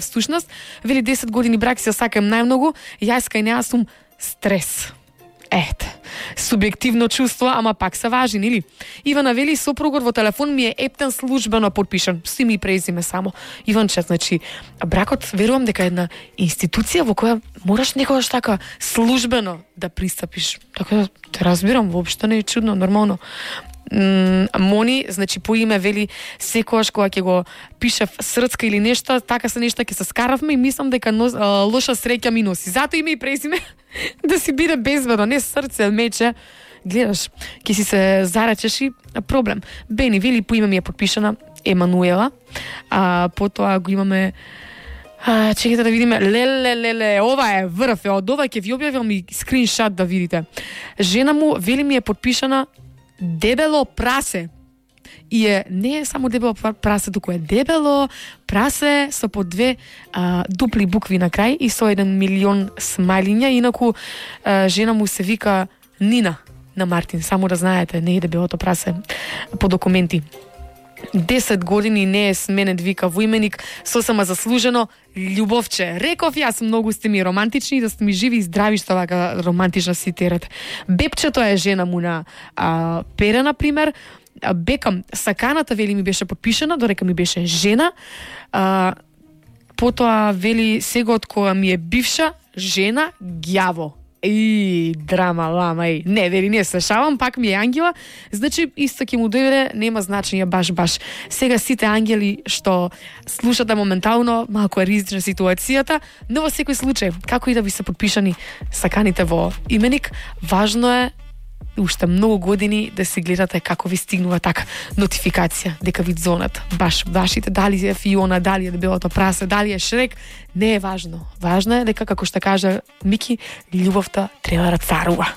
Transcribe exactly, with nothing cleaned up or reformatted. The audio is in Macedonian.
Всушност, вели десет години брак се сакам најмногу, јас кај неа сум стрес. Ете, субјективно чувство, ама пак се важи, нели? Ивана вели, сопругот во телефон ми е ептен службено подпишан. Си ми презиме само. Иванче, значи, бракот, верувам дека е една институција во која мораш некогаш така службено да пристапиш. Така, те разбирам, воопшто не е чудно, нормално. Мони, значи по име вели секогаш кога ќе го пишев срцка или нешто, така се нешто ќе се скаравме и мислам дека нос, а, лоша среќа ми носи. Зато име и презиме да си биде безбедно, не срце, мече. Гледаш, ќе си се заречеш и проблем. Бени вели по име ми е подпишана Емануела. А потоа го имаме А, чекайте да видиме. Леле, леле, ова е врв, од ова ќе ви објавам и скриншот да видите. Жена му вели ми е подпишана дебело прасе. И е, не е само дебело прасе, туку е дебело прасе со по две а, дупли букви на крај и со еден милион смајлиња. Инаку а, жена му се вика Нина на Мартин. Само да знаете, не е дебелото прасе по документи. десет години не е сменет, вика во именик, сосема заслужено, љубовче. Реков јас, многу сте ми романтични, да сте ми живи и здрави, што вака романтично си терете. Бепчето е жена му на а, Пере, например. Бекам, саканата, вели, ми беше подпишана, дорека ми беше жена. А, потоа, вели, сега од кога ми е бивша жена, ѓаво. И драма, лама, и не, вери, не слушавам, пак ми е ангела, значи исто ќе му дојде, нема значење баш баш. Сега сите ангели што слушате моментално, малку е ризична ситуацијата, но во секој случај, како и да ви се подпишани саканите во именик, важно е уште многу години да се гледате како ви стигнува така нотификација дека ви дзонат баш вашите, дали е Фиона, дали е дебелото прасе, дали е Шрек, не е важно. Важно е дека, како што кажа Мики, љубовта треба да царува.